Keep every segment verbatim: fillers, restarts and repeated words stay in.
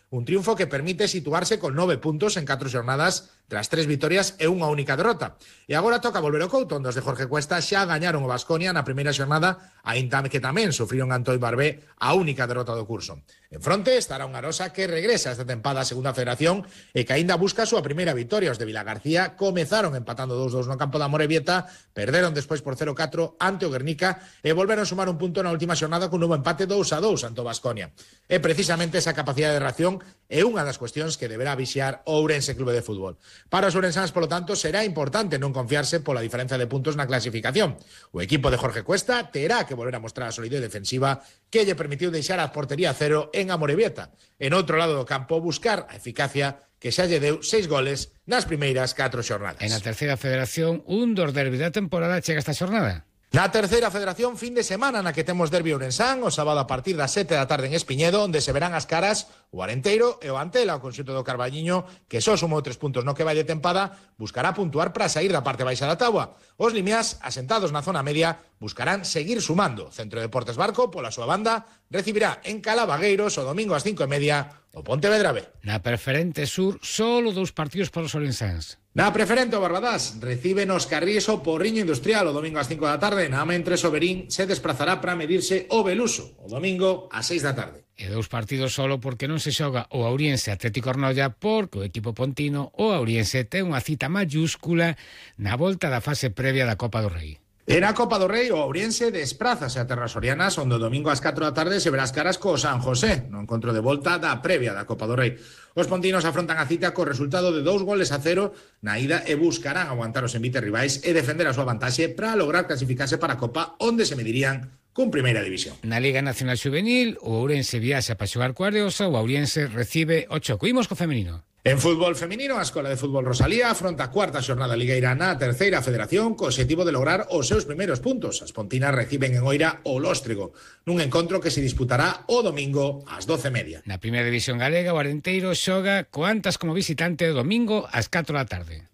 Un triunfo que permite situarse con nove puntos en catro xornadas tras tres vitorias e unha única derrota. E agora toca volver ao Couto, onde os de Jorge Cuesta xa gañaron o Baskonia na primeira xornada, aínda que tamén sufriron Antoi Barbé a única derrota do curso. En fronte estará un Arosa que regresa esta tempada a segunda federación e que aínda busca a súa primeira vitoria. Os de Vilagarcía comezaron empatando dous dous no campo da Amorebieta, perderon despois por cero catro ante o Guernica e volveron a sumar un punto na última xornada con un novo empate dous a dous ante o Baskonia. E precisamente esa capacidade de reacción é unha das cuestións que deberá vixiar o Ourense Clube de Fútbol. Para os ourensáns, polo tanto, será importante non confiarse pola diferencia de puntos na clasificación. O equipo de Jorge Cuesta terá que volver a mostrar a solidez defensiva que lle permitiu deixar a portería cero en Amorebieta. En outro lado do campo, buscar a eficacia que xa lle deu seis goles nas primeiras catro xornadas. En a terceira federación, un dos derbis da temporada chega esta xornada. Na terceira federación, fin de semana na que temos derbi ourensán, o sábado a partir das sete da tarde en Espiñedo, onde se verán as caras o Arenteiro e o Antela, o conxunto do Carballiño, que só sumou tres puntos no que vai de tempada, buscará puntuar para sair da parte baixa da táboa. Os limiás, asentados na zona media, buscarán seguir sumando. Centro Deportes Barco, pola súa banda, recibirá en Calabagueiros o domingo ás cinco e media o Pontevedra B. Na preferente sur, solo dous partidos para os ourensáns. Na preferente o Barbadás recibe nos Carrís o Porriño Industrial o domingo ás cinco da tarde. Na mentre Soberín se desplazará para medirse o Beluso o domingo ás seis da tarde. E dous partidos solo porque non se xoga o Auriense Atlético Ornolla, porque o equipo pontino, o Auriense, ten unha cita mayúscula na volta da fase previa da Copa do Rei. En a Copa do Rei, o Ourense desprázase a terras sorianas, onde o domingo ás catro da tarde se verá as caras co San José, no encontro de volta da previa da Copa do Rei. Os pontinos afrontan a cita co resultado de dous goles a cero na ida e buscarán aguantar os envites rivais e defender a súa vantaxe para lograr clasificarse para a Copa, onde se medirían con Primeira División. Na Liga Nacional Juvenil, o Ourense viaxa para xogar co Areosa, o Auriense recibe o Choco. Imos co femenino. En fútbol femenino, a Escola de Fútbol Rosalía afronta a cuarta xornada ligueira na terceira federación co objetivo de lograr os seus primeiros puntos. As pontinas reciben en Oira o Lóstrego, nun encontro que se disputará o domingo ás doce e media. Na primeira división galega, o Arenteiro xoga co Antas como visitante o domingo ás catro da tarde.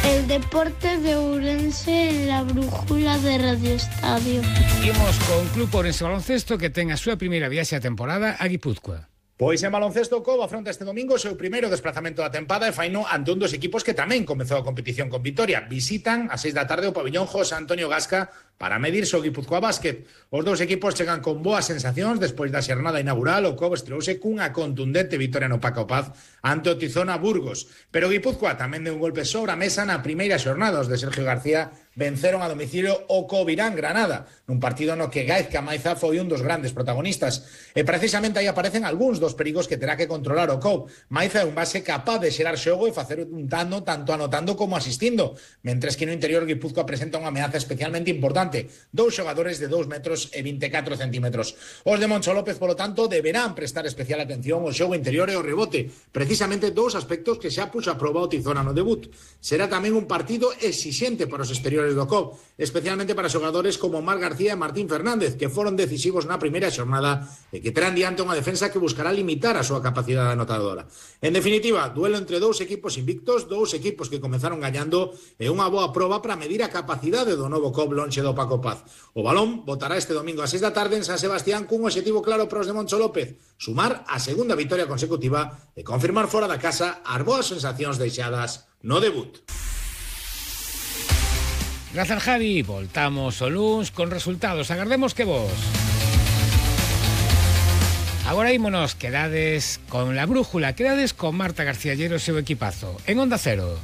El deporte de Ourense en la brújula de Radio Estadio. Imos con Club Ourense Baloncesto que ten a súa primeira viaxe a temporada a Guipúzcoa. Pois en baloncesto, o Cobo afronta este domingo o seu primeiro desplazamento da tempada e faino ante un dos equipos que tamén comezou a competición con vitoria. Visitan a seis da tarde o pabillón José Antonio Gasca para medirse o Guipúzcoa Básquet. Os dous equipos chegan con boas sensacións despois da xornada inaugural. O Cobo estreouse cunha contundente vitoria no Paco Paz ante o Tizona Burgos. Pero Guipúzcoa tamén deu un golpe sobre a mesa na primeira xornada. Os de Sergio García venceron a domicilio o Covirán Granada, nun partido no que Gaizka Maiza foi un dos grandes protagonistas. E precisamente aí aparecen algúns dos perigos que terá que controlar o Cobo. Maiza é un base capaz de xerar xogo e facer un dano tanto anotando como asistindo, mentres que no interior Guipúzcoa presenta unha ameaza especialmente importante, dous xogadores de dous metros e vinte e catro centímetros. Os de Moncho López, polo tanto, deberán prestar especial atención ao xogo interior e ao rebote, precisamente dous aspectos que xa puxo a proba o Tizona no debut. Será tamén un partido exixente para os exteriores do Cobo, especialmente para xogadores como Mar García e Martín Fernández, que foron decisivos na primeira xornada e que terán diante unha defensa que buscará limitar a súa capacidade anotadora. En definitiva, duelo entre dous equipos invictos, dous equipos que comezaron gañando e unha boa proba para medir a capacidade do novo Cobo lonxe do Paco Paz. O balón botará este domingo a seis da tarde en San Sebastián cun objetivo claro para os de Moncho López, sumar a segunda vitoria consecutiva e confirmar fora da casa as boas sensacións deixadas no debut. Grazas, Javi. Voltamos o luns con resultados. Agardemos que vos. Agora ímonos, quedades con la brújula, quedades con Marta García Llero e seu equipazo. En Onda Cero.